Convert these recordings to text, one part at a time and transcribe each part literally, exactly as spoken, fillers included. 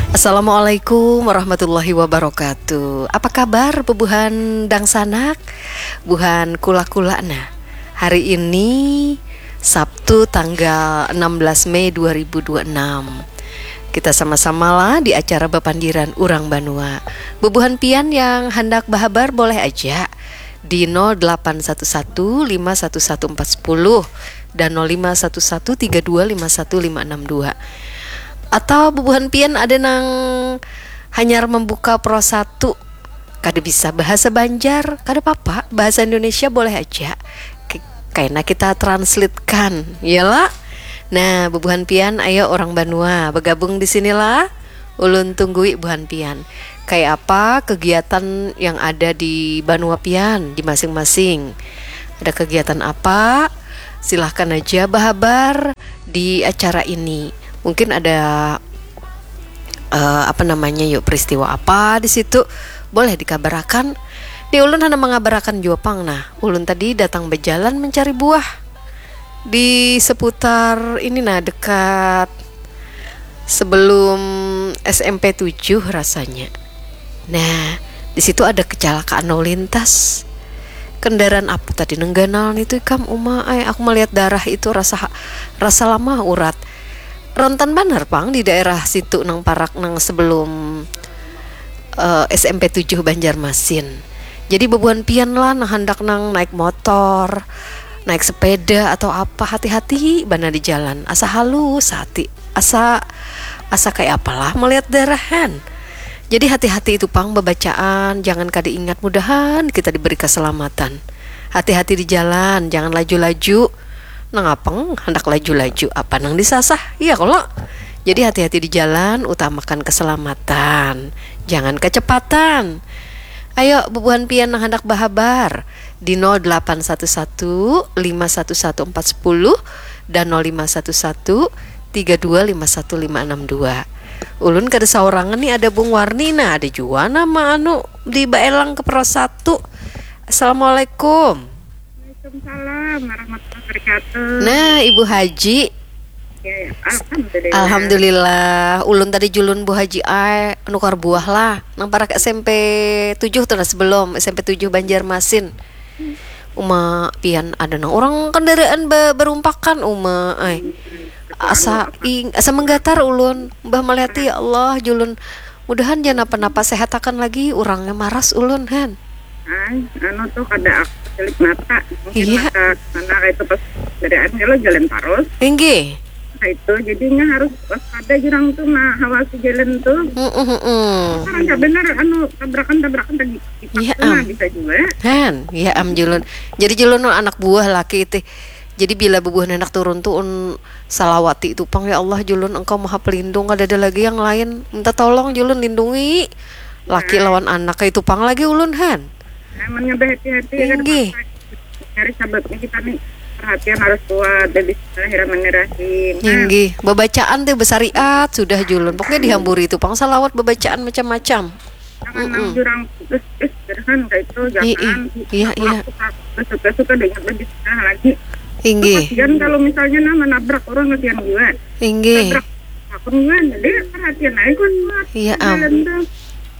Assalamualaikum warahmatullahi wabarakatuh. Apa kabar bubuhan dangsanak? Buhan kula-kula nah. Hari ini Sabtu tanggal enam belas Mei dua ribu dua puluh enam. Kita sama-samalah di acara bapandiran urang banua. Bubuhan pian yang handak bahabar boleh aja di nol delapan satu satu lima satu satu empat sepuluh dan nol lima satu satu tiga dua lima satu lima enam dua. Atau bubuhan pian ada nang hanyar membuka Pro satu, kada bisa bahasa Banjar, kada papa, bahasa Indonesia boleh aja. Kaina kita translatekan, iyalah. Nah, bubuhan pian, ayo orang banua bergabung di sinilah. Ulun tunggui buhan pian. Kayak apa kegiatan yang ada di banua pian di masing-masing? Ada kegiatan apa? Silahkan aja bahabar di acara ini. Mungkin ada uh, apa namanya yuk peristiwa apa di situ boleh dikabarakan. Di ulun hana mengabarakan jua pang nah. Ulun tadi datang berjalan mencari buah di seputar ini nah dekat sebelum S M P tujuh rasanya. Nah, di situ ada kecelakaan lalu lintas. Kendaraan apa tadi nengganal itu ikam uma ay aku melihat darah itu rasa rasa lamah urat. Rentan banar pang di daerah situ nang parak nang sebelum uh, S M P tujuh Banjarmasin. Jadi bebuan pian lah nang handak nang naik motor, naik sepeda atau apa hati-hati bana di jalan. Asa halus hati, asa asa kayak apalah melihat darahan. Jadi hati-hati itu pang bebacaan, jangan kada ingat mudahan kita diberi keselamatan. Hati-hati di jalan, jangan laju-laju. Nang apeng handak laju-laju apa nang disasah, iya kalo? Jadi hati-hati di jalan, utamakan keselamatan, jangan kecepatan. Ayo bubuhan pian nang handak bahabar di nol delapan satu satu lima satu satu empat sepuluh dan nol lima satu satu tiga dua lima satu lima enam dua. Ulun kada saurangan nih, ada Bung Warni nah, ada jua nama anu di Baelang ke Pro satu. Assalamualaikum. Waalaikumsalam warahmatullahi wabarakatuh. Nah, Ibu Haji. Ya, ya. Alhamdulillah. Alhamdulillah. Ulun tadi julun Bu Haji ai nukar buah lah. Nang parak S M P tujuh tuh nah sebelum S M P tujuh Banjarmasin. Uma pian ada nang orang kendaraan be- berumpakan uma ai. Asa ing asa menggatar ulun. Mbah melihat ya Allah julun. Mudahan jangan napa-napa sehatakan lagi urangnya maras ulun han. Ay, anu tuh kada aku celik mata. Mungkin iya. Mata sana kayak itu pas bedaan kalau jalan terus. Inggih. Nah itu jadinya harus waspada jurang tuh nah hawasi jalan tuh. Mm -mm. Karena nggak benar anu tabrakan-tabrakan tadi. Iya am. Bisa juga. Han, iya am julun. Jadi julun anak buah laki itu. Jadi bila bubuhan anak turun tuh un salawati itu pang ya Allah julun engkau maha pelindung kada ada lagi yang lain minta tolong julun lindungi laki lawan anak itu pang lagi ulun han. Amannya berhati-hati ya kan. Inggih. Nyari sababnya kita nih perhatian harus kuat dan bismillahirrahmanirrahim. Inggih, bebacaan teh besariat sudah julun pokoknya dihamburi itu pang salawat bebacaan macam-macam. Jangan nang jurang putus eh jurahan kayak itu jangan. Iya iya. Suka suka dengan lebih susah lagi. Inggih. Kasihan kalau misalnya nah menabrak orang kasihan juga. Inggih. Nabrak akun juga jadi perhatian aja kan. Iya am.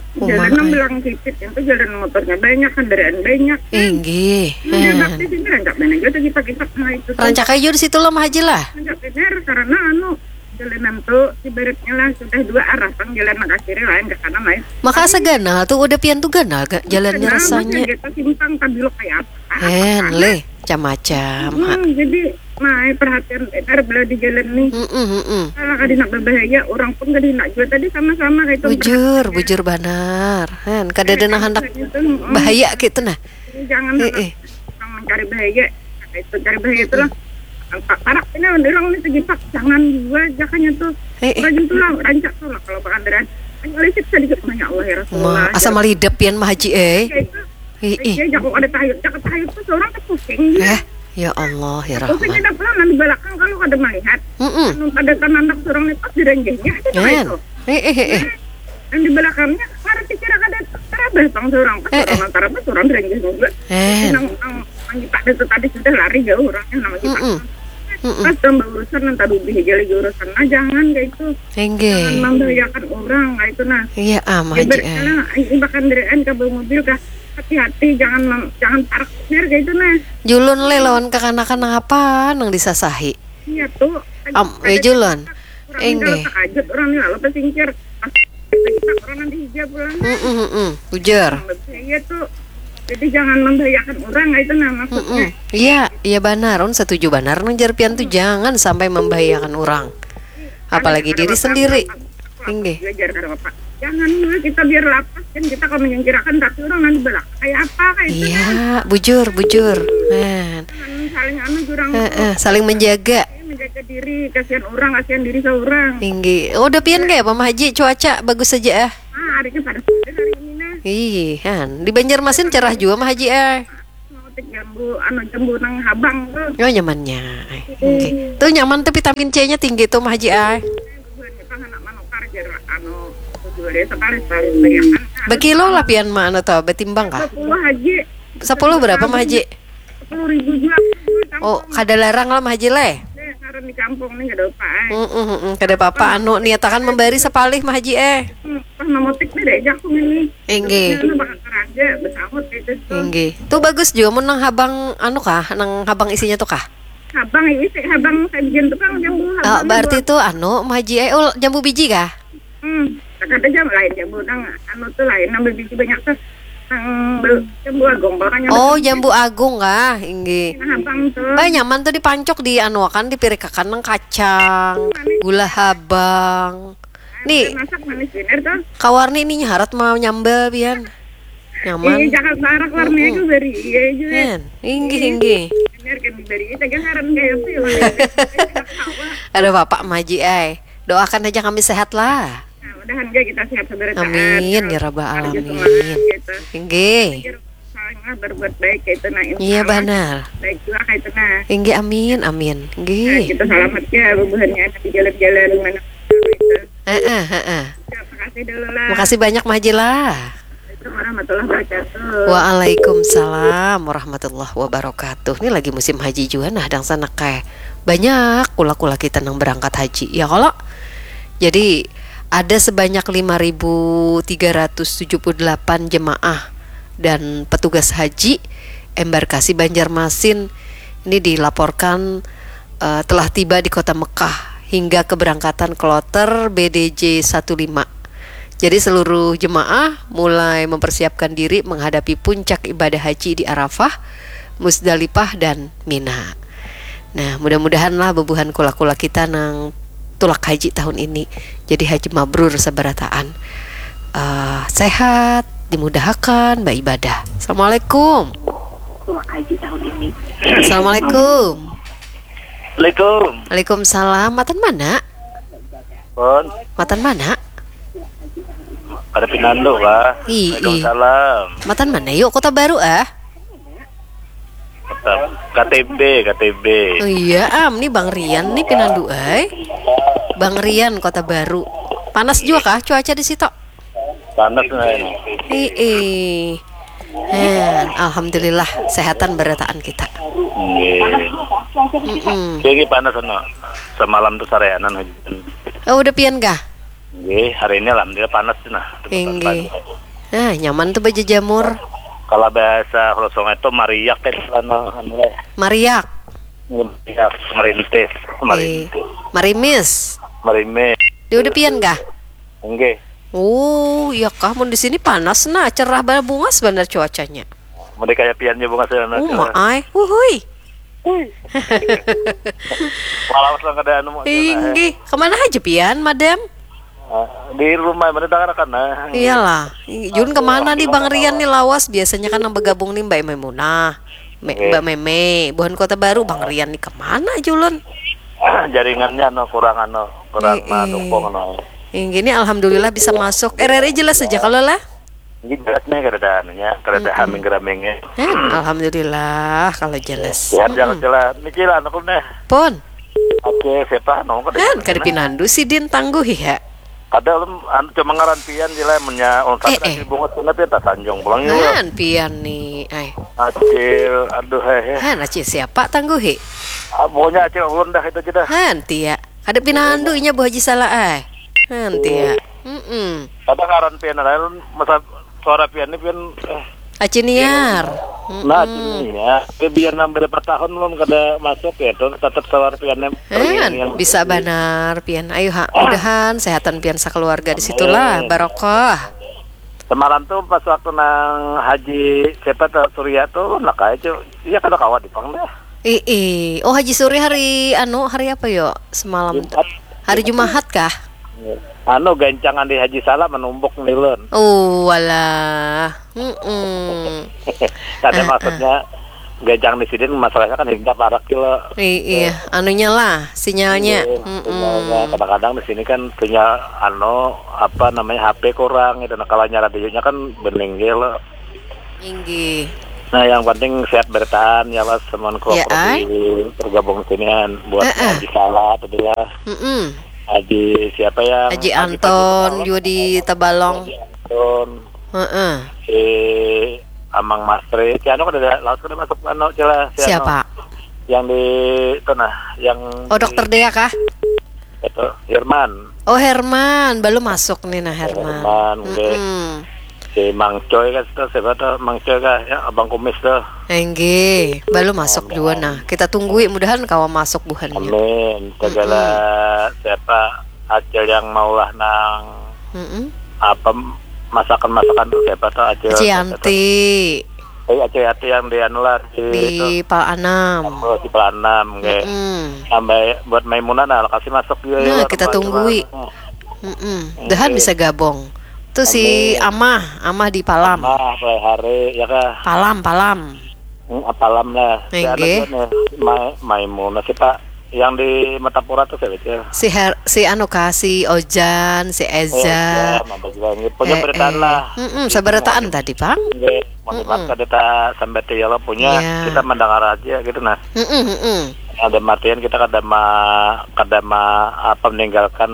Jalan nang belang titit itu jalan motornya banyak kendaraan banyak. Inggih. Nah, bakti sini rancak mana juga kita kita nah itu. Rancak aja di situ lah Haji lah. Rancak benar karena anu jalanan tuh ibaratnya lah sudah dua arah pang jalan nang kiri lain ke kanan lain. Maka asa ganal tuh udah pian tuh ganal gak jalannya rasanya. Kita simpang tabelok kayak apa? Hen leh macam-macam. Hmm, jadi nah perhatian benar bila di jalan nih. Mm -mm, mm -mm. Kalau kada nak berbahaya, orang pun kada nak juga tadi sama-sama kayak itu. Bujur, bujur banar. Hen, kada ada nang handak bahaya gitu nah. Jangan eh, eh. Mencari bahaya. Itu cari bahaya itu lah. Parak ini orang ini segipak jangan juga jakanya tuh. Rajin tuh lah rancak tuh lah kalau pakandaran. Lisik sedikit banyak Allah ya Rasulullah. Asa malidap pian mah haji eh. Iya jago ada tahayud, jago tahayud tuh seorang tuh pusing. Eh, ya Allah ya Rahman. Pusing ada pulang nanti belakang kalau ada melihat. Mm -mm. Anu pada tanandak seorang itu direnggehnya itu. Eh, eh, eh, eh. Yang di belakangnya karena kira ada terabas bang seorang pas orang terabas orang direnggeh juga. Eh. Nang nang nang kita itu tadi sudah lari jauh orangnya nang kita. Mm -mm. Mm-mm. Pas tambah urusan, nanti lebih aja lagi urusan. Nah, jangan kayak itu. Jangan membahayakan orang kayak itu, nah. Iya, ah, Mah Haji, eh. Ini bahkan dari N K B mobil kah? Hati-hati, jangan mem- jangan parkir kayak itu, nah. Julun le lawan kakanakan nang apa nang disasahi. Iya tuh. Am, eh, Julun. Enggak. Takajut orang nih lalu pesingkir. Pas kita orang nanti hijab pulang. Mm-mm, mm-mm. Bujur. Iya tuh. Jadi jangan membahayakan orang itu, nah, maksudnya. Mm-mm. Iya, iya banar. Un setuju banar nang jar pian tuh, jangan sampai membahayakan orang. Apalagi diri sendiri. Inggih. Jangan dulu kita biar lapas kan, kita kalau menyingkirakan tapi orang nanti belakang kayak apa kayak itu. Iya, bujur, bujur. Nah. Saling anu jurang. Heeh, saling menjaga. Menjaga diri, kasihan orang, kasihan diri seorang. Inggih. Oh, udah pian kayak apa, Mah Haji? Cuaca bagus saja, ah. Ah, hari ini panas hari ini, nah. Ih, han. Di Banjarmasin cerah juga, Mah Haji, eh. Mau tik jambu, anu, jambu nang habang tuh. Oh, nyamannya. Eh, oke. Tuh nyaman tuh, vitamin C-nya tinggi tuh, Mah Haji, eh. Bukan, kita anak manukar jar, anu, tujuh hari sekali, sekali beriakan. Bekilo lah pian mah, anu tuh, betimbang kah? Dua puluh, Haji. Sepuluh berapa, Mah Haji? Sepuluh ribu juga. Oh, kada larang lah, Mah Haji, leh. Deh, karena di kampung nih kada apa, eh. Mm-mm, mm-mm. Kada apa-apa, anu, niatakan membari sepalih, Mah Haji, eh. Hmm, pas memutik nih diajak tuh ini. Inggih. Terus bakal keraja, besamut gitu tuh. Inggih. Tuh bagus juga mun nang habang, anu kah, nang habang isinya tuh kah? Habang isi, habang sajian tukang jambu, ah, habang berarti jambu. Tuh anu, Mah Haji, eh, oh, jambu biji kah? Hmm, kata jambu lain, jambu nang anu tuh lain, nang biji banyak tuh. Nang bel- jambu agung, pokoknya. Oh, betul. Jambu agung kah? Inggih. Nah, habang tuh. Bah, nyaman tuh dipancok, di anu akan, dipirikakan nang kacang, manis. Gula habang. Nih, masak manis bener tuh. Kawarni ini nyarat mau nyambel pian. Nyaman. Iya, jangan barak warnanya. Mm-mm. Tuh bari iya juga. Kan, inggih, inggih. Bener kan, bari iya, tegang ngaran kayak apa ya, Bang? Ada bapak Mah Haji, ai. Doakan aja kami sehat lah. Nah, mudahan aja kita sehat segera. Amin, ya rabbal alamin. Semangat, gitu. Inggih. Saling lah berbuat baik kayak itu, nah, insya Allah. Iya, banar. Baik juga kayak itu, nah. Inggih, amin, amin. Inggih. Nah, kita selamat ya, bubuhannya di jalan-jalan mana itu. Heeh, heeh. Ya, makasih dulu lah. Makasih banyak, Mah Haji lah. Assalamualaikum warahmatullahi wabarakatuh. Waalaikumsalam warahmatullahi wabarakatuh. Ini lagi musim haji juga, nah, dangsanak ai. Banyak kula-kula kita nang berangkat haji, ya kalo? Jadi, ada sebanyak lima ribu tiga ratus tujuh puluh delapan jemaah dan petugas haji embarkasi Banjarmasin ini dilaporkan, eh, telah tiba di kota Mekah hingga keberangkatan kloter B D J satu lima. Jadi, seluruh jemaah mulai mempersiapkan diri menghadapi puncak ibadah haji di Arafah, Muzdalifah, dan Mina. Nah, mudah-mudahanlah bubuhan kula-kula kita nang tulak haji tahun ini jadi haji mabrur sabarataan. Eh, sehat, dimudahakan baibadah. Assalamualaikum. Tulak haji tahun ini. Assalamualaikum. Assalamualaikum. Waalaikumsalam. Matan mana? Pun. Matan mana? Ada Pinandu kah? Ii. Waalaikumsalam. Matan mana yuk, Kota Baru ah? K T B, K T B. Oh iya, am, ni Bang Rian ni Pinandu ai. Bang Rian, Kota Baru. Panas juga kah cuaca di situ? Panas nah ini. Ii. Hen, alhamdulillah sehatan berataan kita. Nggih. Mm-mm. Nggih, panas sana. Semalam tuh sareanan hujan. Oh, udah pian kah? Nggih, hari ini alhamdulillah panas nah. Nggih. Nah, nyaman tuh baju jamur. Kalau bahasa Kota Sungai itu mariak kan, anu, anu, eh. Mariak. Mariak, merintis, eh, merintis. Marimis. Marimis. Dia udah pian kah? Nggih. Oh, iya kah? Mun di sini panas nah, cerah banget, bungas banget cuacanya. Mun di kayak pian aja bungas ya, nah, cerah. Uma ai. Wuhui. Malam sudah kada anu mau. Inggih, kemana aja pian, Madam? Eh, di rumah, mana tangan kan, nah. Iyalah. Jun kemana nih Bang Rian nih lawas? Biasanya kan yang bergabung nih Mbak Maimunah. Me- Mbak Meme, buhan Kota Baru, Bang Rian nih kemana Julun? Jaringannya no kurang anu, kurang mendukung no. Yang gini alhamdulillah bisa masuk. R R I jelas aja kalau lah. Ini jelas nih, kada ada anunya, kada ada haming-ramingnya. Alhamdulillah kalau jelas. Sehat ya, Cila. Ini Cila, anu deh. Pun. Oke, siapa? Nong kada. Kan kada pinandu sidin tangguh ya. Kada ulun, anu, cuma ngaran pian je lah, munnya ulun sakit, eh, eh, hati bungut kena pian tasanjung pulang juga. Kan pian nih, ai. Acil, aduh, hehe. Han, Acil siapa tangguhi? Ah, pokoknya acil ulun dah itu aja dah. Hantia. Kada pinandu inya Bu Haji Salah ai. Hantia. Mm-mm. Kada ngaran pian lain masa suara pian ni pian eh, Aciniar. Nah, cini ya. Tapi biar nang berapa tahun belum kada masuk ya, tuh tetap suara pian ni. Kan bisa banar pian. Ayo ha, mudahan sehatan pian sakeluarga di situlah barokah. Semalam tuh pas waktu nang Haji siapa tuh Surya tuh nak aja. Iya kada kawa di pang dah. Ii, oh Haji Suri hari anu hari apa yo semalam? Hari Jumahat kah? Anu gancangan di Haji Salah menumbuk nilun. Oh walah. Mm-mm. Kada maksudnya gancang di sini masalahnya kan hingga parak kilo. Iya, anunya lah, sinyalnya. Iya, sinyalnya. Kadang-kadang di sini kan sinyal anu apa namanya H P kurang gitu. Nah, kalau nyala radionya kan bening gitu. Inggih. Nah, yang penting sehat bertahan ya Mas, teman ya, bergabung sini kan buat uh -uh. Haji Salah tadi lah. Mm -mm. Haji siapa ya? Haji Anton juga di Tabalong. Haji Anton. Uh -uh. Si Amang Masri, si anu kada lawas kada masuk anu cila si siapa? Anu. Yang di itu nah, yang Oh, di, dokter Dea kah? Itu Herman. Oh, Herman, belum masuk nih nah Herman. Herman, mm -mm. Si Mang Coy kan tuh siapa tuh Mang Coy kah ya Abang Kumis tuh. Enggih, belum masuk juga nah. Kita tunggui mudahan kawa masuk buhannya. Amin. Segala mm -mm. Siapa acil yang maulah nang mm -mm. Apa masakan-masakan tuh siapa tuh acil. Cianti. Eh, Acil Yati yang di anu lah di, di itu. Pal Anam. Oh, di Pal Anam, nggih. Mm -mm. Sampai buat Maimunah nah, kasih masuk juga. Nah, ya, kita tunggui. Mm -mm. Dahan bisa gabung. Tuh si Amah, Amah di Palam. Amah, hari ya kah? Palam, Palam. Hmm, Palam lah. Enggak. Ma Maimunah sih Pak. Yang di Metapura tuh siapa sih? Si Her si anu kah, si Ojan, si Eza. Ojan, ada juga. Punya eh, beritaan eh. Lah. Mm -mm, seberitaan tadi, Bang. Nggih, mau mm -mm. Kada tak sampai ya lo punya, yeah. Kita mendengar aja gitu nah. Mm -mm, mm -mm. Ada martian kita kada ma kada ma apa meninggalkan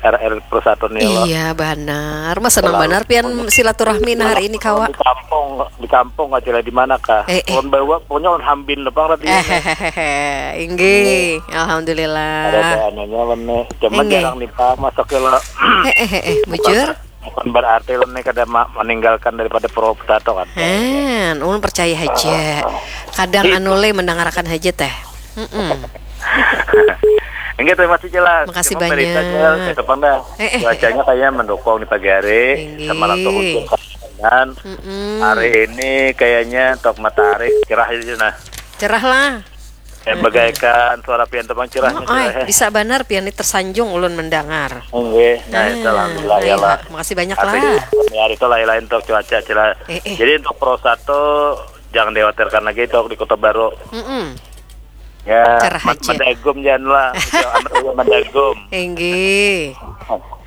R R Persatuan ya lo. Iya, benar. Mas senang benar pian silaturahmi nah hari ini kawa. Di kampung, di kampung aja lah di mana kah? Eh, eh. Bawa punya on hambin lepang tadi. Inggih, alhamdulillah. Ada anunya lene. Cuma jarang nih Pak masuk ke lo. Eh, eh, eh, eh, bujur. Bukan berarti lo nih kada meninggalkan daripada Purwokerto kan. Hen, ulun percaya aja. Kadang anu le mendengarkan aja teh. Mm -mm. Enggak terima kasih jelas. Makasih banyak. Itu pang dah. Eh, eh, cuacanya eh. Kayaknya mendukung di pagi hari. Sama langsung hujan. Mm -mm. Hari ini kayaknya tok matahari cerah aja nah. Cerah lah. Eh, bagaikan suara pian tepang cerahnya. Oh, cerah, eh. Bisa benar pian ini tersanjung ulun mendengar. Nggih, nah, itu alhamdulillah ya lah. Makasih banyak lah. Hari itu lain-lain untuk cuaca cerah. Eh, eh. Jadi untuk Pro satu jangan dikhawatirkan lagi itu di Kota Baru. Mm -mm. Ya, cerah aja. Mandagum jangan lah. Mandagum. Enggih.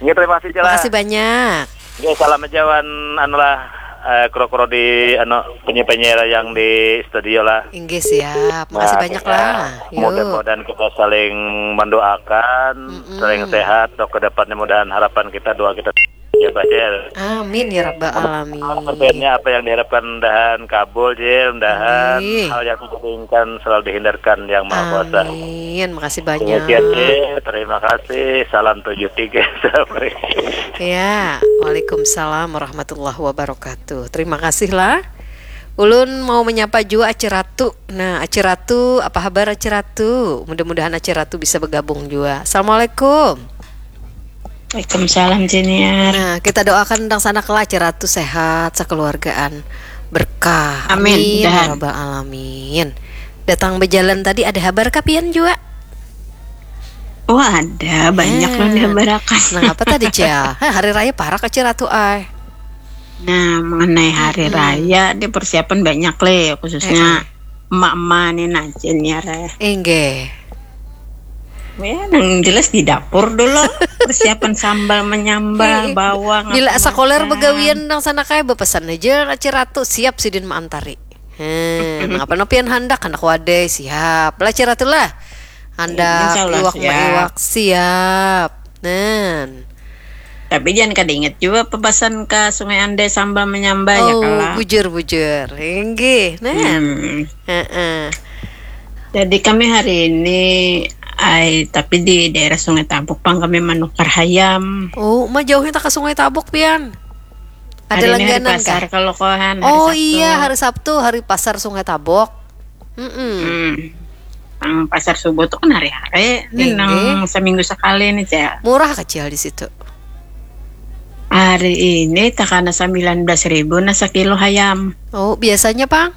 Nggih, terima kasih, Cila. Makasih banyak. Nggih, salam aja wan anu lah eh, kro-kro di anu penyiar-penyiar yang di studio lah. Inggih siap. Makasih nah, banyak ya, lah. Mudah-mudahan kita saling mendoakan, mm -mm. Saling sehat, untuk ke depannya mudahan harapan kita doa kita ya Bacil. Amin ya rabbal alamin. Apa yang diharapkan dahan kabul Cil, dahan hal yang kita inginkan selalu dihindarkan yang maha kuasa. Amin. Makasih banyak. Demikian Cil. Terima kasih. Salam tujuh tiga. Assalamualaikum. Ya, waalaikumsalam warahmatullahi wabarakatuh. Terima kasih lah. Ulun mau menyapa juga Aci Ratu. Nah, Aci Ratu, apa kabar Aci Ratu? Mudah-mudahan Aci Ratu bisa bergabung juga. Assalamualaikum. Waalaikumsalam Jeniar. Nah, kita doakan tentang sana kelak Aci Ratu sehat, sekeluargaan, berkah. Amin. Amin ya rabbal alamin. Datang berjalan tadi ada kabar kapian juga? Wah ada banyak hmm. Loh dihabarakan. Nah apa tadi Cel? Heh, hari raya parak Aci Ratu ay. Nah mengenai hari hmm. Raya dia persiapan banyak le khususnya eh. Emak-emak ni nah Jeniar eh. Enggak. Ya, yang jelas di dapur dulu persiapan sambal menyambal bawang. Bila sekolah begawian nang sana kayak berpesan aja Aci Ratu siap sidin maantari. Hmm, apa nopian handak handak wadai siap lah Aci Ratu lah. Handak iwak maiwak siap. Nen. Tapi jangan kada ingat juga pebasan ke Sungai Andai sambal menyambal oh, ya kalah. Bujur bujur. Inggih. Nen. Hmm. Heeh. Jadi kami hari ini, ai, tapi di daerah Sungai Tabuk pang kami manukar hayam. Oh, ma jauhnya tak ke Sungai Tabuk pian? Ada Hari ini hari langganan pasar kah? Kalau kohan hari Oh Sabtu. Iya, hari Sabtu, hari pasar Sungai Tabuk. Mm-mm. Hmm. Nang pasar subuh tuh kan hari-hari. Ini Inggih. Nang seminggu sekali nih, Cak. Murah kecil di situ. Hari ini takana sembilan belas ribu nah sekilo hayam. Oh, biasanya pang?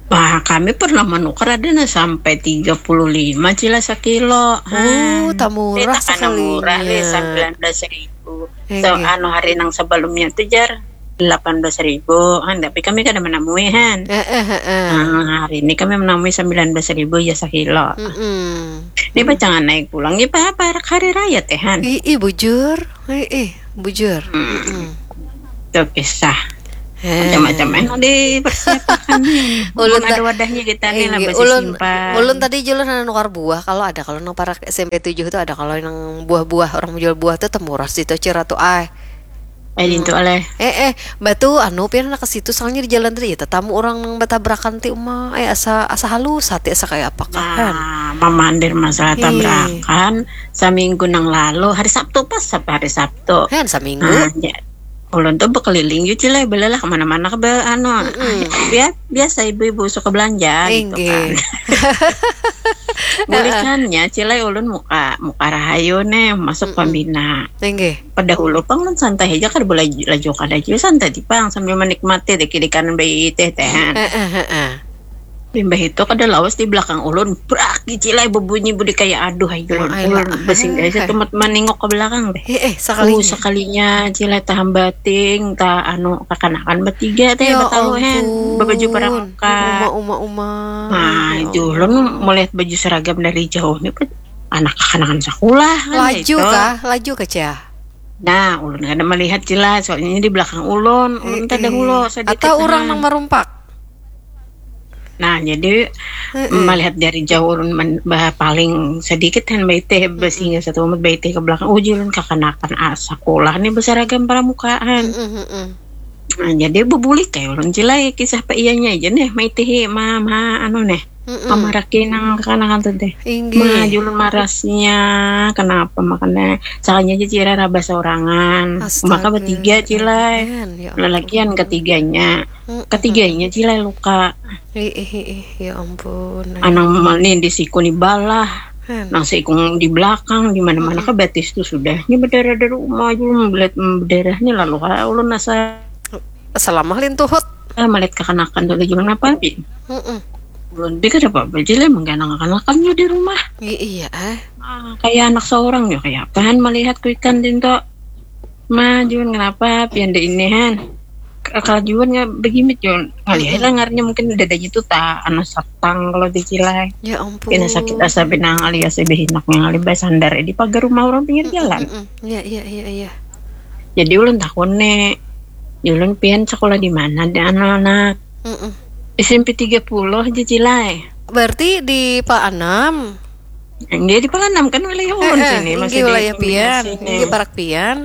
Wah, kami pernah menukar ada nah sampai tiga puluh lima cila sekilo. Oh, tak murah Takana murah sekalinya. Nih, sembilan belas ribu. Inggih. So, anu hari nang sebelumnya tuh jar delapan belas ribu kan, tapi kami kada menemui han. Eh, eh, eh, eh. Nah, hari ini kami menemui sembilan belas ribu ya sekilo. Mm-mm. Ini pacangan naik pulang ya apa hari raya teh han. Ih, ih, bujur. Ih, ih, bujur. Mm-mm. Itu kisah Eh. macam-macam yang dipersiapkan nih. Ulun Belum ada ta- wadahnya kita nih lah Inggih, masih ulun, simpan. Ulun tadi jualan nang nukar buah. Kalau ada, kalau nang parak S M P tujuh tuh ada, kalau nang buah-buah orang menjual buah tuh temurah situ Cira tuh, ay. Eh, itu oleh. Eh, eh, batu anu pian nak ke situ, soalnya di jalan tadi ya tetamu orang nang batabrakan ti uma. Eh, asa, asa halus hati, asa kayak apa kan? Nah, mamandir masalah Ih. tabrakan seminggu nang lalu hari Sabtu pas apa hari Sabtu. Hen, seminggu. Nah, ya. Ulun tuh berkeliling juga lah, belalah kemana-mana ke be- anu. Bia- biasa ibu-ibu suka belanja gitu Inggih. Kan. Bulikannya cilai ulun muka muka rahayu nih masuk pembina. Inggih. Pada hulu pang ulun santai aja kada boleh laju kada juga santai di pang sambil menikmati deh kiri kanan bayi teh teh. Heeh, heeh. Limbah itu kada lawas di belakang ulun brak cilai berbunyi budi kayak aduh ayo ulun Ayolah, ulun basing ah, aja tumat menengok ke belakang deh. Eh, eh, Uh, sekalinya. Sekalinya cilai tahan bating ta anu kakanakan bertiga teh Ya betalu hen ampun. berbaju pramuka. Uma, uma, uma. Nah, Ya itu ulun melihat baju seragam dari jauh nih Pet. Anak kakanakan sekolah kan Laju itu. Kah? Laju kah, Cah? Nah, ulun kada melihat jelas soalnya di belakang ulun, ulun kada Eh, hulo eh. sedikit Atau orang nah. Nang marumpak? Nah, jadi Heeh. melihat dari jauh ulun men- bah, paling sedikit kan baiteh besinga satu umat baiteh ke belakang. Uji ulun kakanakan ah, sekolah nih beseragam pramukaan. Heeh, heeh. Nah, jadi bebulik kayak ulun cilai kisah pe iyanya aja nih maitihi ma ma anu nih Mm-mm. pamaraki nang kakanakan tuh deh. Inggih. Ma julun marasnya kenapa makanya salahnya aja cira raba sorangan. Maka Astaga. Bertiga cilai. Hen, ya Lalakian ketiganya. Mm-mm. Ketiganya cilai luka. Ih, ih, ih, ih, ya ampun. Anang mani di siku ni balah. Hen. Nang sikung di belakang di mana-mana ke batis tuh sudah. Ini berdarah dari rumah aja melihat berdarah ni lalu ha ulun asa Selama lintuhut. ah, melihat kakanakan tuh lagi kenapa bi. Heeh. Ulun pikir apa aja lah mengganang kakanakan di rumah. I- iya, eh. Ah, kayak anak seorang ya kayak apaan melihat kuikan dinto. Ma Jun kenapa pian deh ini han. Kelajuan nggak begimit Jun. Ngalihat lah ngarnya mungkin dadanya tuh tak anu satang kalau dicilai. Ya ampun. Pina sakit asa pina ngalihat si behinak ngalih basandar di pagar rumah orang pinggir jalan. Mm-mm. Iya, iya, iya, iya. Jadi ulun takun nih, ulun pian sekolah di mana di anu anak Mm-mm. S M P tiga puluh aja cilai. Berarti di Pak Anam. Enggak di Palanam kan wilayah ulun Eh, eh, sini masih inggih di wilayah pian, sini. Inggih parak pian.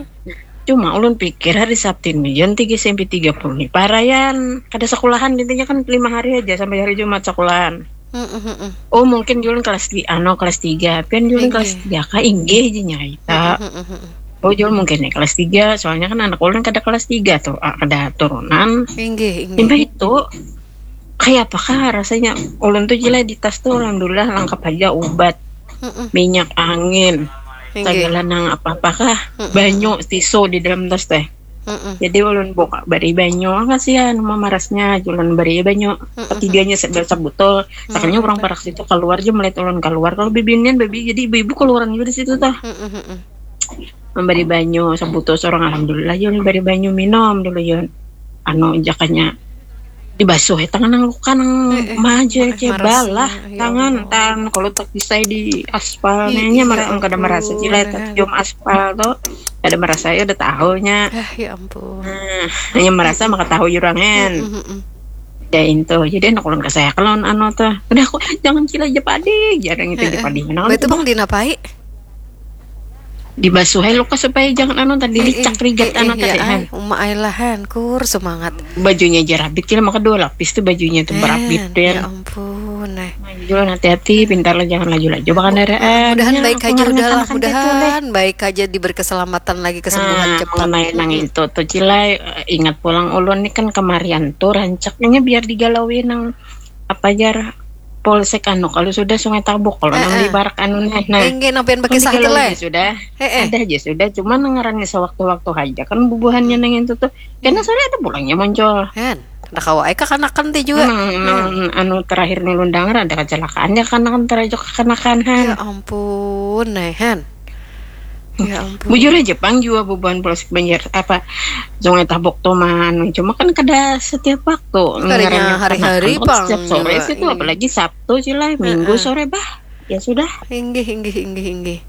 Cuma ulun pikir hari Sabtu ini jam tiga S M P tiga puluh nih paraian kada sekolahan intinya kan lima hari aja sampai hari Jumat sekolahan. Mm-mm, mm-mm. Oh mungkin ulun kelas tiga, ano kelas tiga, pian ulun Inggih. Kelas tiga kah inggih aja nyai. Mm-mm, mm-mm. Oh ulun mungkin nih kelas tiga, soalnya kan anak ulun kada kelas tiga tuh, ah, kada turunan. Inggih, inggih. Limbah itu kayak apakah rasanya ulun tuh jila di tas tuh alhamdulillah lengkap aja obat, Mm-mm. Minyak angin, Inggih. Segala nang apa-apakah, banyu, tisu di dalam tas teh. Mm-mm. Jadi ulun buka bari banyu, ah, kasihan mama marasnya, ulun bari banyu. Ketiganya se- sebotol. Sakalinya orang parak situ keluar aja melihat ulun keluar. Kalau bibinian babi jadi ibu-ibu keluaran juga di situ tuh. Mm-mm, mm-mm. Memberi banyu sebotol seorang alhamdulillah ya ulun bari banyu minum dulu ya. Anu jakanya dibasuh ya tangan nang luka nang maju aja marasnya, balah ya tangan Allah. Tan kalau tak kisah di aspal Ih, nya iya mara kada merasa ampun, cilai kan. Tercium aspal tuh kada merasa ya udah tahunya. Ah, ya ampun. Hmm, hanya merasa maka tahu jurang hen. Mm-mm. Ya itu jadi anak ulun kesayang lawan anu tuh udah aku jangan cilai aja padi jarang itu aja padi menang. Betul bang dinapai? Dibasuh aja luka supaya jangan anu tadi licak rigat anu tadi Ya, han. Uma Ailahan kur semangat. Bajunya aja rabit kira maka dua lapis tuh bajunya tuh berabit Ya dan ampun, eh. Jualan hati-hati, pintar lah, jangan laju-laju bakandaraan. Mudahan Ya, baik aku aja ngarannya udah lah, kanakan kaitu, leh. Mudahan baik aja diberi keselamatan lagi, kesembuhan Nah, cepat. Mengenai nang itu tuh, Cilai, eh, ingat pulang ulun nih kan kemarian tuh rancaknya biar digalaui nang apa jar polsek anu kalau sudah Sungai Tabuk kalau nang Eh, eh. di barak anu nih. Nah, Inggih, nang pian kan bakisah itu, digalaui leh. Aja sudah. Eh, eh. Ada aja sudah, cuman ngarannya sewaktu-waktu aja kan bubuhannya nang itu tuh. Karena soalnya ada pulangnya muncul. Hen, kada kawa ai kakanakan ti jua. Nang, nang anu terakhir nih ulun dengar ada kecelakaan ya kanakan terajuk kakanakan, Han. Ya ampun, nah, Hen. Ya ampun. Bujur aja pang jua bubuhan polsek Banjar apa Sungai Tabuk tuh manu, cuma kan kada setiap waktu. Kadanya Ngarannya hari-hari kanakan pang setiap sore jua, sih tuh, iya. Apalagi Sabtu sih lah, Minggu sore bah. Ya sudah. Inggih, inggih, inggih, inggih.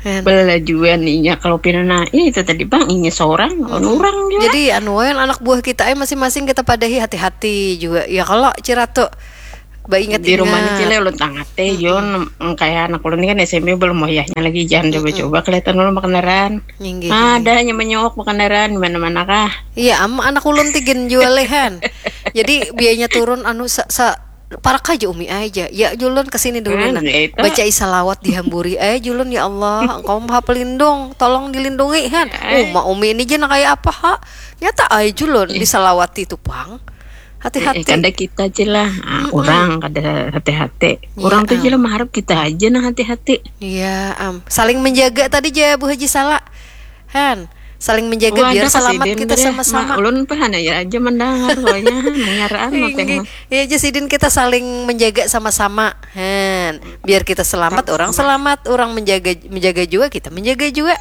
Hen. Belajuan inya kalau pina nah, itu tadi bang inya seorang lawan orang juga. Jadi anu wae, anak buah kita ai masing-masing kita padahi, hati-hati juga. Ya kalau Ciratu baingat Di rumah ni Cile ulun tangat teh Jon, kayak anak ulun ni kan S M P belum wayahnya lagi, jangan coba-coba kelihatan ulun makandaran. Inggih. Ada hanya menyok makandaran di mana-mana kah. Iya, am anak ulun ti gin jua leh, Han. Jadi biayanya turun anu sa, sa parak aja umi aja. Ya julun kesini dulu Hmm, nah. ya itu. Baca salawat dihamburi aja julun, ya Allah, engkau maha pelindung, tolong dilindungi, Han. Ya. Uma umi ini jenah kayak apa ha? Nyata aja julun disalawati tu pang. Eh, Hati-hati. kada kita aja lah. Ah, orang kada hati-hati. Iya, Orang tuh am. Aja lah mengharap kita aja nah hati-hati. Iya, am. Saling menjaga tadi ja Bu Haji Sala. Han, saling menjaga Wah, biar ada selamat kasiden kita tadi. Sama-sama. Ma, ulun pahan aja aja mendengar soalnya mengaraan apa Tinggi. yang Ya aja sidin kita saling menjaga sama-sama. Han, biar kita selamat, orang selamat, orang menjaga menjaga juga, kita menjaga juga.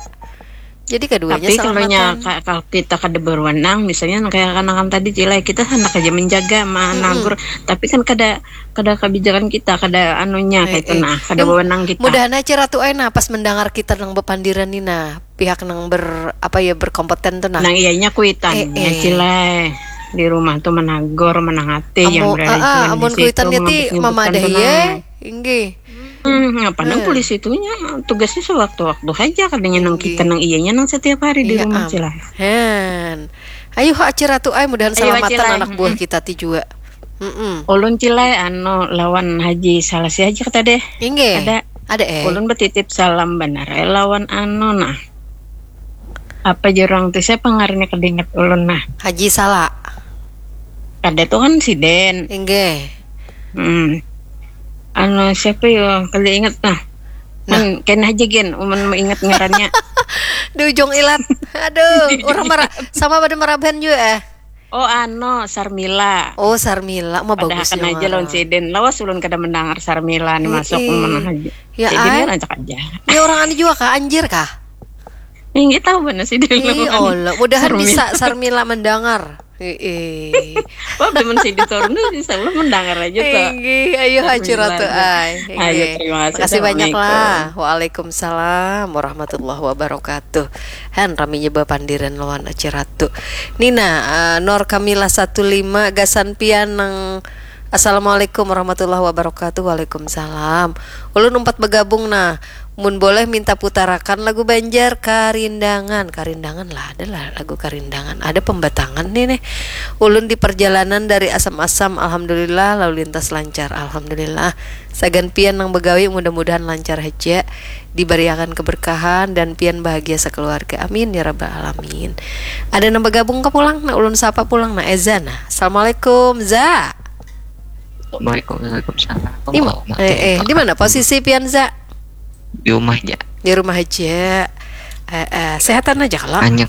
Jadi keduanya Tapi kalau nya selamatan. ka- kalau kita kada berwenang, misalnya kayak kanakan tadi Cilai, kita hendak aja menjaga, menegur, tapi kan kada kada kebijakan kita, kada anunya Eh, kayak itu eh. Nah, kada Em, wewenang kita. Mudahan aja ratu ai nah pas mendengar kita nang bepandiran ni nah, pihak nang ber apa ya, berkompeten tuh nah. Nang iyanya kuitan Eh, ya eh. Cilai di rumah tuh menegur, menangati yang Amu, berada ah, ah, cuman di amun situ kuitannya ti mengambil mamadahi keputusan ya. tenang. Inggih. Hmm, apa nang polisi itu nya tugasnya sewaktu-waktu aja katanya nang Inggih. Kita nang iyanya nang setiap hari di Iya, rumah am. Cilai. Hen. Ayo ha Ciratu ai, mudahan Ayo, selamatan Cilai. Anak buah kita ti jua. Mm-mm. Ulun Cilai anu lawan Haji Salasi aja kita deh. Inggih. Ada. Ada eh. Ulun betitip salam benar eh lawan anu nah. Apa jurang tuh siapa ngarannya kedingat ulun nah. Haji Sala. Ada tuh kan si Den. Inggih. Hmm. Anu siapa yo kada ingat nah. Nah. Hmm, kena aja gen, umun mau ingat ngarannya. Di ujung ilat. Aduh, orang marah sama pada maraban juga eh. Oh ano Sarmila. Oh, Sarmila mah Padahal bagus kena aja lawan si Den. Lawas ulun kada mendengar Sarmila nih Eh, masuk eh. Mana aja. Ya, Si Den ai. Kan rancak aja. Ya orang anu juga kah, anjir kah? Ini tahu mana si Den. Ih, Lawan. Allah. Mudahan Sarmila. Bisa Sarmila mendengar. Heeh. Wah, teman si Ditor tuh insya Allah mendengar aja tuh. Inggih, ayo Haji Bismillah. Ratu ai. Ayo, Inggih. terima kasih. Makasih banyak Assalamualaikum. Lah. Waalaikumsalam warahmatullahi wabarakatuh. Han raminya bapandiran lawan Aci Ratu. Nina, eh, Nor Kamila satu lima gasan pian nang Assalamualaikum warahmatullahi wabarakatuh. Waalaikumsalam. Ulun umpat bergabung nah. Mun boleh minta putarakan lagu Banjar Karindangan. Karindangan lah, ada lah lagu Karindangan. Ada pembatangan nih nih. Ulun di perjalanan dari Asam-Asam, alhamdulillah, lalu lintas lancar, alhamdulillah. Sagan pian nang begawi, mudah-mudahan lancar haja, diberiakan keberkahan dan pian bahagia sekeluarga. Amin ya rabbal alamin. Ada nang bergabung ke pulang, nah ulun sapa pulang, nah Eza nah. Assalamualaikum Za. Waalaikumsalam. Di, eh, eh, di mana posisi pian Za? Di rumah aja. Di rumah aja. Eh, eh, sehatan aja kalau. Hanya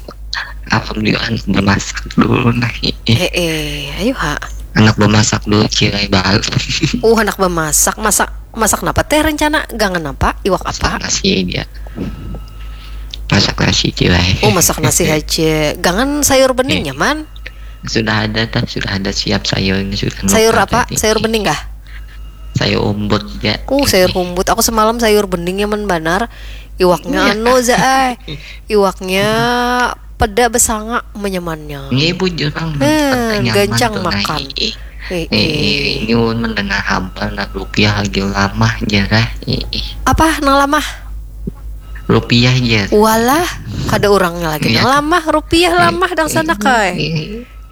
alhamdulillah bemasak dulu nah. Eh, Eh, eh, ayo ha. Anak bemasak dulu cirai baru. Uh, anak bemasak, masak masak napa teh rencana? Gangan apa? Iwak apa? Nasi aja. Masak nasi cirai. Oh, masak nasi aja. Gangan sayur bening nyaman. Sudah ada tah, sudah ada siap sayurnya sudah. Sayur apa? Sayur bening kah? Sayur umbut ya. Uh, sayur umbut. Aku semalam sayur bening nyaman banar. Iwaknya anu Za ai. Iwaknya peda besanga menyamannya. Ini bujur bang. Hmm, gancang makan. Eh, eh. Ini mendengar kabar lah rupiah lagi lamah jarah. Eh, eh. Apa nang lamah? Rupiah aja. Walah, kada orangnya lagi nang lamah, rupiah lamah dang sana kai.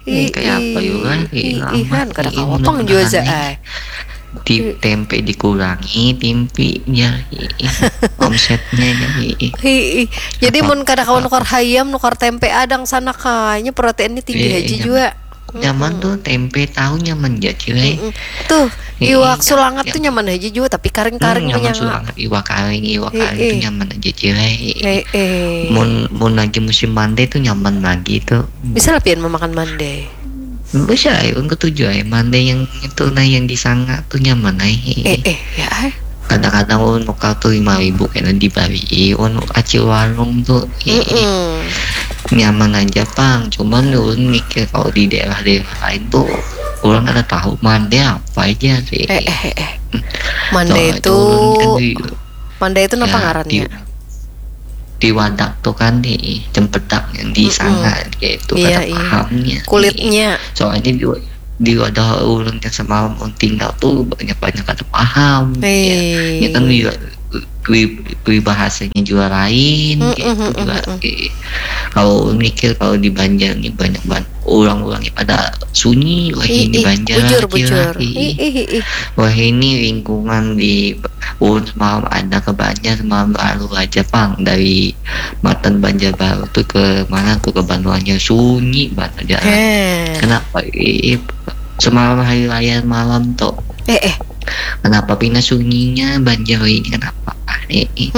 Ini kayak apa juga? Ihan kada kawa pang jua Za ai. Di tempe dikurangi, timpinya, omsetnya jadi. Hii. Jadi mun kada kawa nukar hayam, nukar tempe adang sana kanya, proteinnya tinggi haja jua. Nyaman tuh tempe tahu nyaman ja cilai. Tuh, iwak sulangat tuh nyaman haja jua, tapi karing-karing. Nyaman sulangat, iwak karing, iwak karing tuh nyaman aja cilai. Mun mun lagi musim mande tuh nyaman lagi tuh. Bisa lah pian memakan mande. Bisa, yang ketujuh, ay, mande yang itu nah, yang disanga tuh nyaman, ay. Eh, eh, ya, ay. Kadang-kadang ulun nukar tuh lima ribu kena dibari ulun acil warung tuh. Eh, eh. Nyaman aja pang, cuman ulun mikir kalau di daerah-daerah lain tuh orang ada tahu mande apa aja sih. Eh, eh, eh, eh. Mande itu, kan di, mande itu ya, apa ngarannya? Di wadak tuh kan di cempedak yang di sana gitu, iya, kada pahamnya. Kulitnya. Soalnya di, di wadah ulun yang semalam ulun tinggal tuh banyak-banyak kada paham. Ya. Ya kan peribahasanya juga lain gitu juga. Kalau mikir kalau di Banjar ini banyak banget orang-orang yang pada sunyi, wah ini Banjar, bujur, bujur. Wah ini lingkungan di Ulun semalam ada ke Banjar, semalam baru aja pang dari matan Banjar Baru tuh ke mana tuh, ke Banua Anyar, sunyi banget aja. Kenapa? Ih, semalam hari raya malam tuh. Eh, eh. Kenapa pina sunyinya Banjar ini, kenapa? Eh, eh.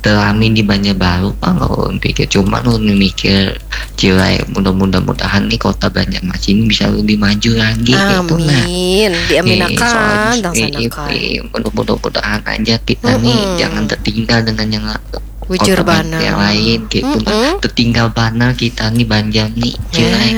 Terami di Banjar Baru pang, ulun pikir. Cuman ulun mikir Cilai, mudah-mudah mudahan nih kota Banjarmasin ini bisa lebih maju lagi gitu nah. Amin. Diaminakan, dangsanakan. Mudah-mudahan aja kita nih jangan tertinggal dengan yang kota yang lain gitu nah. Tertinggal banar kita nih Banjar nih, Cilai.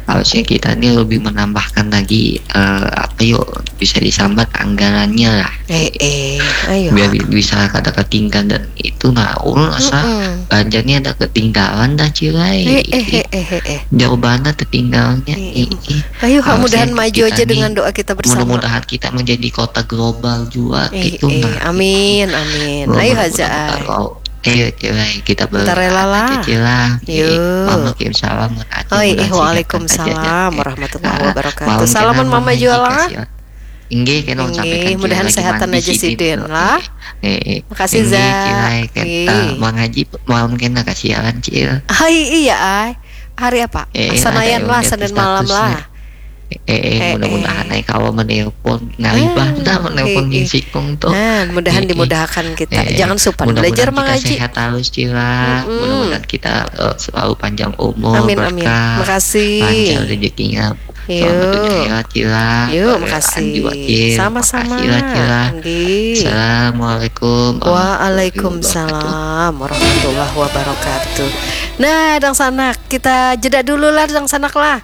Harusnya kita nih lebih menambahkan lagi, eh, apa yuk, bisa disambat anggarannya lah. Eh, eh, ayo. Biar bisa kada ketinggalan dan itu nah, ulun rasa Banjar ni ada ketinggalan dah, Cilai. Eh, eh, eh, eh, eh. Jauh banget tertinggalnya. Eh, eh. Ayo, mudahan maju aja dengan doa kita bersama. Mudah-mudahan kita menjadi kota global juga, eh, gitu eh, nah. Amin, amin. Ayo haja. Ayo, Cilai, kita berdoa aja, Cilai. Yuk. Waalaikumsalam warahmatullahi wabarakatuh. Salam warahmatullahi wabarakatuh. Salaman Mama Juala. Inggih, kena ulun sampaikan, Cil, mudahan sehatan aja sidin lah. Eh, eh. Makasih, Zak. Inggih, Cil, ai, kena mangaji malam kena kasiaran, Cil. Hai, iya, ai. Hari apa? Eh, Sanayan lah, Senin malam lah. Eh, eh, mudah-mudahan ai kawa menelpon. Ngalih banar menelpon Nyi Sikung tuh. Nah, mudahan dimudahkan kita. Jangan supan belajar mangaji. Mudah-mudahan kita sehat terus, Cila. Mudah-mudahan kita, eh, selalu panjang umur, amin, amin, berkah, makasih, lancar rezekinya. Yuk. Selamat hari raya, Cila. Yuk, makasih. Sama-sama. Makasih lah, Cila. Assalamualaikum. Waalaikumsalam warahmatullahi wabarakatuh. Nah, dangsanak, kita jeda dulu lah, dangsanak lah.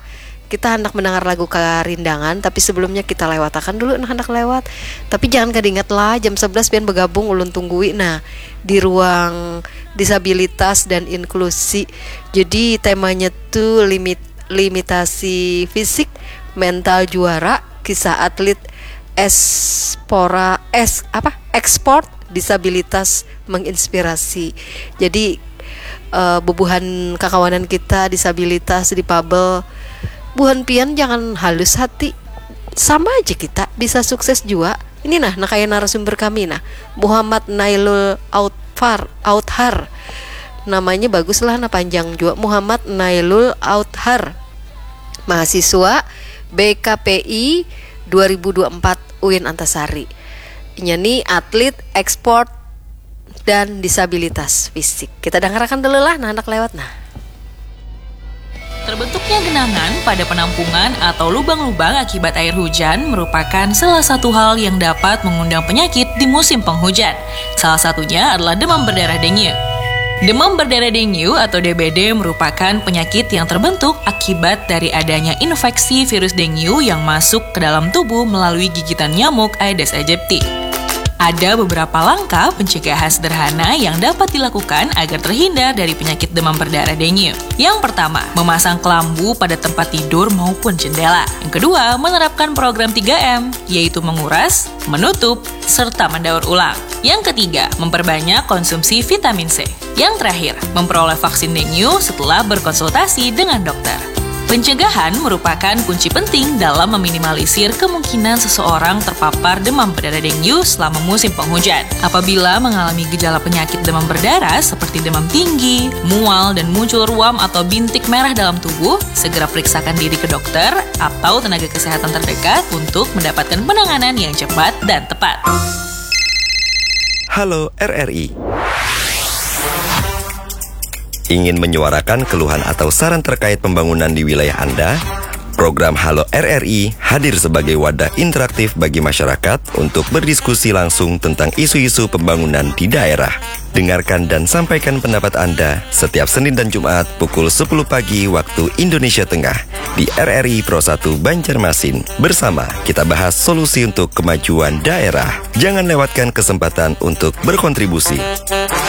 Kita handak mendengar lagu Karindangan, tapi sebelumnya kita lewatakan dulu nah handak lewat. Tapi jangan kada ingat lah, jam sebelas pian bergabung, ulun tunggui nah di ruang disabilitas dan inklusi. Jadi temanya tuh limit limitasi fisik, mental juara, kisah atlet espora es apa ekspor disabilitas menginspirasi. Jadi uh, bubuhan kakawanan kita disabilitas, dipabel, buhan pian jangan halus hati, sama aja kita bisa sukses juga. Ini nah, nah kayak narasumber kami nah, Muhammad Nailul Autfar Authar, namanya bagus lah nah, panjang juga, Muhammad Nailul Authar, mahasiswa B K P I dua ribu dua puluh empat U I N Antasari. Inya ni atlet ekspor dan disabilitas fisik. Kita dengarkan dulu lah nah, anak lewat nah. Terbentuknya genangan pada penampungan atau lubang-lubang akibat air hujan merupakan salah satu hal yang dapat mengundang penyakit di musim penghujan. Salah satunya adalah demam berdarah dengue. Demam berdarah dengue atau D B D merupakan penyakit yang terbentuk akibat dari adanya infeksi virus dengue yang masuk ke dalam tubuh melalui gigitan nyamuk Aedes aegypti. Ada beberapa langkah pencegahan sederhana yang dapat dilakukan agar terhindar dari penyakit demam berdarah dengue. Yang pertama, memasang kelambu pada tempat tidur maupun jendela. Yang kedua, menerapkan program tiga M, yaitu menguras, menutup, serta mendaur ulang. Yang ketiga, memperbanyak konsumsi vitamin C. Yang terakhir, memperoleh vaksin dengue setelah berkonsultasi dengan dokter. Pencegahan merupakan kunci penting dalam meminimalisir kemungkinan seseorang terpapar demam berdarah dengue selama musim penghujan. Apabila mengalami gejala penyakit demam berdarah seperti demam tinggi, mual, dan muncul ruam atau bintik merah dalam tubuh, segera periksakan diri ke dokter atau tenaga kesehatan terdekat untuk mendapatkan penanganan yang cepat dan tepat. Halo R R I. Ingin menyuarakan keluhan atau saran terkait pembangunan di wilayah Anda? Program Halo R R I hadir sebagai wadah interaktif bagi masyarakat untuk berdiskusi langsung tentang isu-isu pembangunan di daerah. Dengarkan dan sampaikan pendapat Anda setiap Senin dan Jumat pukul sepuluh pagi waktu Indonesia Tengah di R R I Pro satu Banjarmasin. Bersama kita bahas solusi untuk kemajuan daerah. Jangan lewatkan kesempatan untuk berkontribusi.